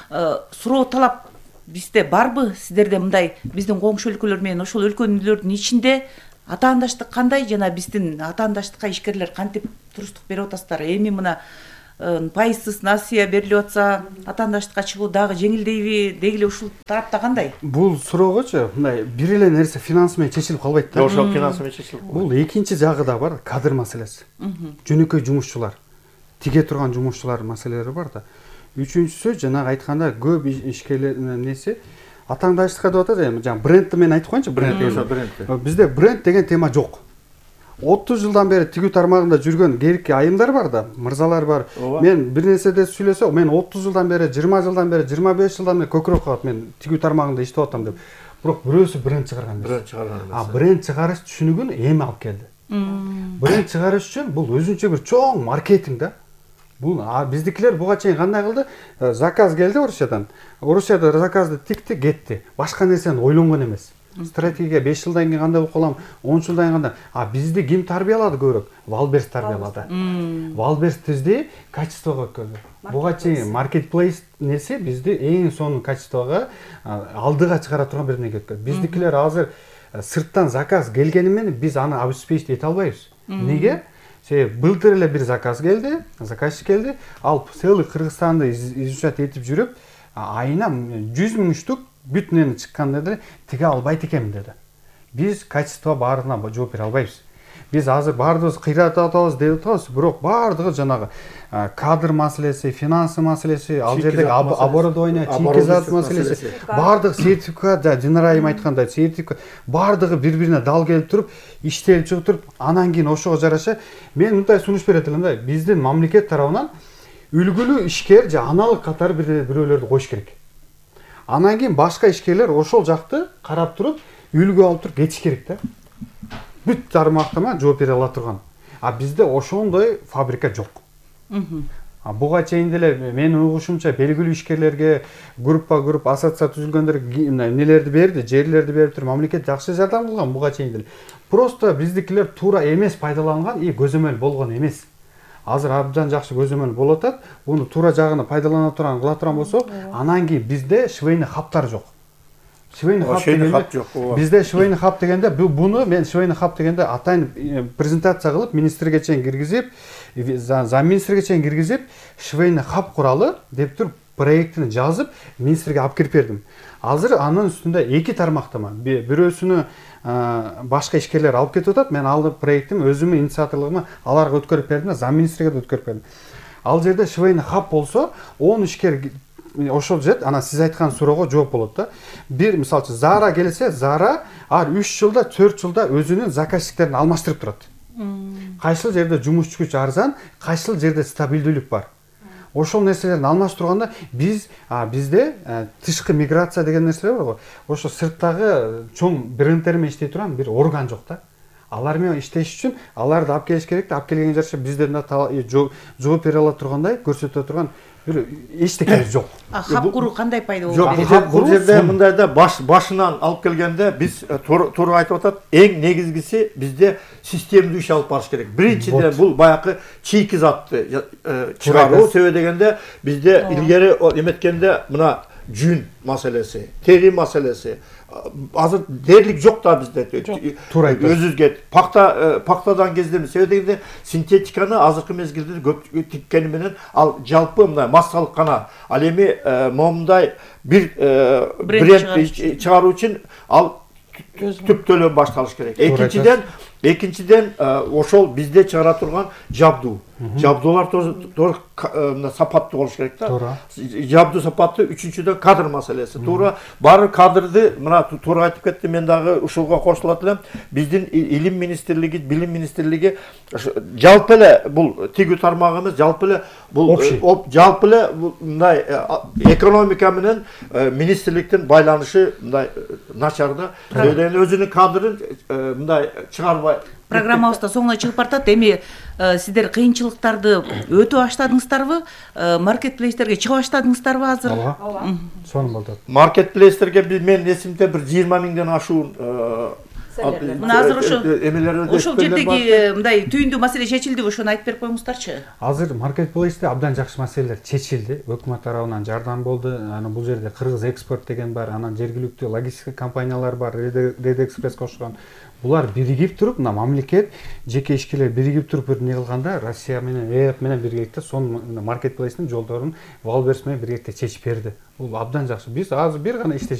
Суроо талап бизде барбы? Сиздерде мындай биздин коңшу өлкөлөр менен ошол өлкөлөрдүн ичинде атаандаштык кандай, жана биздин атаандаштыкка ишкерлер кантип туруштук берип атасыздар? Эми мына пайызсыз насыя берилип атса, атаандаштыкка чыгуу дагы жеңилдейби? Дегиле ушул тарапта кандай? Бул суроогочу мындай бир эле нерсе финанс менен чечилип калбайт да. Ошол финанс менен чечилип. Бул экинчи жагы да бар, кадр маселеси. Жөнөкөй жумушчулар, тиге турган жумушчулар маселелери бар да. Үчүнчүсү жанагы айтканда көп ишкерлердин неси атаандаштыкка деп атат, эми жана брендти мен айтып коеюнчу, бренд. Бизде бренд деген тема жок. 30 жылдан бери тигүү тармагында жүргөн керекки айымдар бар да, мырзалар бар. Мен бир нерседе сүйлөсөм, мен 30 жылдан бери, 20 жылдан бери, 25 жылдан бери көкүрөк калат, мен тигүү тармагында иштеп атам деп. Бирок бирөөсү бренд чыгарган эмес. Бренд чыгарыш түшүнүгүн эми алып келди. Бренд чыгарыш үчүн бул өзүнчө бир чоң маркетинг да. Бул биздикилер буга чейин кандай кылды? Заказ келди Орусиядан. Орусияда заказды тикти, кетти. Башка нерсени ойлонгон эмес. Стратегия 5 жылдан кийин кандай болуп калам, 10 жылдан кийин кандай. Бизди ким тарбиялады көбүрөөк? Валберс тарбиялады. Валберс тизди качествого өткөздү. Буга чейин маркетплейс нерсе бизди эң сонун качествого алдыга чыгара турган бир нерсе өткөздү. Биздикилер азыр сырттан заказ келгени менен биз аны обеспечить эте албайбыз. Неге? Себеби былтыр эле бир заказ келди, заказчик келди, ал целый Кыргызстанды изучать этип жүрүп, айына 100 000 штук бүтүнөн чыккан деди, тиге албайт экенмин деди. Биз качество баарына жооп бере албайбыз. Биз азыр баардыгыбыз кыйратып атабыз деп атабыз, бирок баардыгы жанагы кадр маселеси, финансы маселеси, ал жердеги оборудование, чийки маселеси, баардык сертификат, Динара айым айткандай сертификат, баардыгы бири-бирине дал келип туруп, иштелип чыгып туруп, анан кийин ошого жараша мен мындай сунуш берет элем да, биздин мамлекет тарабынан үлгүлүү ишкер же аналык катары бирөөлөрдү коюш керек. Анан кийин башка ишкерлер ошол жакты карап туруп, үлгү алып туруп кетиш керек да. Бүт тармактама жооп бере ала турган. Бизде ошондой фабрика жок. Буга чейин деле менин угушумча белгилүү ишкерлерге группа ассоциация түзүлгөндөргө нелерди берди, жерлерди берип туруп мамлекет жакшы жардам кылган буга чейин деле. Просто биздикилер туура эмес пайдаланган и көзөмөл болгон эмес. Азыр абдан жакшы көзөмөл болуп атат. Буну туура жагына пайдалана турган, кыла турган болсок, анан кийин бизде швейный хаптар жок. Швейный хаб дегенде, бизде швейный хаб дегенде, буну мен швейный хаб дегенде атайын презентация кылып, министрге чейин киргизип, замминистрге чейин киргизип, швейный хаб куралы деп туруп проектин жазып, министрге алып кирип бердим. Азыр анын үстүндө 2 тармактама, бирөөсүнү башка ишкерлер алып кетип атат, мен алып проектим өзүмдүн инициаторлугума аларга өткөрүп бердим, замминистрге да өткөрүп бердим. Ал жерде швейный хаб болсо, 10 ишкер ошол жет, ана сиз айткан суроого жооп болот да. Бир мисалы үчүн Zara келсе, Zara 3 жылда, 4 жылда өзүнүн заказчиктерин алмаштырып турат. Кайсыл жерде жумуш күч арзан, кайсыл жерде стабилдүүлүк бар. Ошол нерселерди алмаштырганда бизде тышкы миграция деген нерсе бар го. Ошо сырттагы чоң бренддер менен иштей турган бир орган жок да. Алар менен иштеш үчүн аларды алып келиш керек да. Алып келген жараша бизден да жооп бере ала тургандай көрсөтө турган бир эчтекебиз жок. Хаб куруу кандай пайда болот? Жок, бул жерде мындай да башынан алып келгенде биз туура айтып атат, эң негизгиси бизде системдүү иш алып барыш керек. Биринчиден бул баягы чийки затты чыгаруу, себеби дегенде бизде илгери эметкенде мына жүн маселеси, тери маселеси, азыр дээрлик жок да бизде. Туура айтасыз. Өзүбүзгө пактадан кездеби, себеби дегенде синтетиканы азыркы мезгилде көп тиккени менен ал жалпы мындай массалык гана. Ал эми момундай бир бренд чыгаруу үчүн ал түптөлөн башталыш керек. Экинчиден ошол бизде чыгара турган жабдуу. Жабдуулар туура сапаттуу болуш керек да. Жабдуу сапаттуу, үчүнчүдөн кадр маселеси. Туура баары кадрды мына туура айтып кетти, мен дагы ушуга кошулат элем. Биздин илим министрлиги, билим министрлиги жалпы эле бул тигүү тармагы эмес, жалпы эле бул жалпы эле мындай экономика менен министрликтин байланышы мындай начар да. Өзүнүн кадрын мындай чыгарбай. Программабызда соңуна чыгып бартат. Эми сиздер кыйынчылыктарды өтө баштадыңыздарбы? Маркетплейстерге чыга баштадыңыздарбы азыр? Ооба. Сонун болду. Маркетплейстерге мен эсимде бир 20 000ден ашуун мына азыр ошол жердеги мындай түйүндүү маселе чечилдиби? Ошону айтып берип коюңуздарчы. Азыр маркетплейсте абдан жакшы маселелер чечилди. Өкмөт тарабынан жардам болду. Анан бул жерде Кыргыз экспорт деген бар, анан жергиликтүү логистика компаниялар бар, Red Express кошкон. Булар биригип туруп, мына мамлекет, жеке ишкерлер биригип туруп бир не кылганда, Россия менен ЭФ менен биргеликте сонун маркетплейстин жолдорун Валберс менен биргеликте чечип берди. Бул абдан жакшы. Биз азыр бир гана иштеш